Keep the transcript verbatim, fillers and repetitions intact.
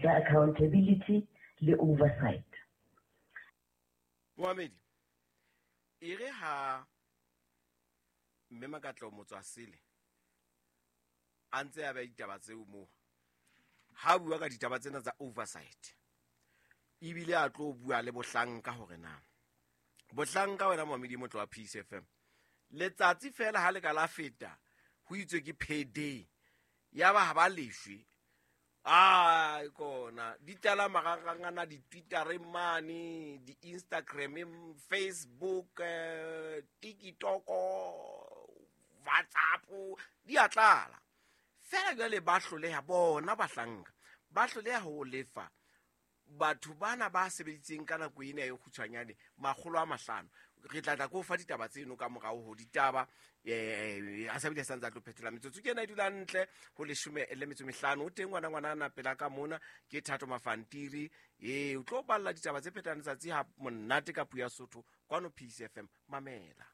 ka accountability le oversight. Moamedi, e re ha mme Makatlo Motswasele a ntse a beha ditaba tseo moo, ha bua ka ditaba tsena tsa oversight, ebile a tlo bua le bohlanka hore na bohlanka wena moamedi motlo wa Peace F M, letsatsi fela ha le ka la feta ho itswe ke payday, ya ba ha ba leshwe. Ai kona di tlala marangrang ana, di-Twitter mane, di-Instagram, Facebook, eh, TikTok, WhatsApp, di a tlala. Fela jwale ba hloleha bona bahlanka, ba hloleha ho lefa batho bana ba sebeditseng ka nako ena e kgutshwanyane makgolo a mahlano. Re tla tla ko fa ditaba tseno ka morao ho ditaba, eh, a sa bile sa ntse a tlo phetola metsotso ke ena e dula ntle ho leshome le metso mehlano. O teng ngwana ngwana ana pela ka mona ke Thato Mafantiri, eh, o tlo balla ditaba tse phetang letsatsi ha monate ka puo ya Sotho kwano Peace F M. Mamela.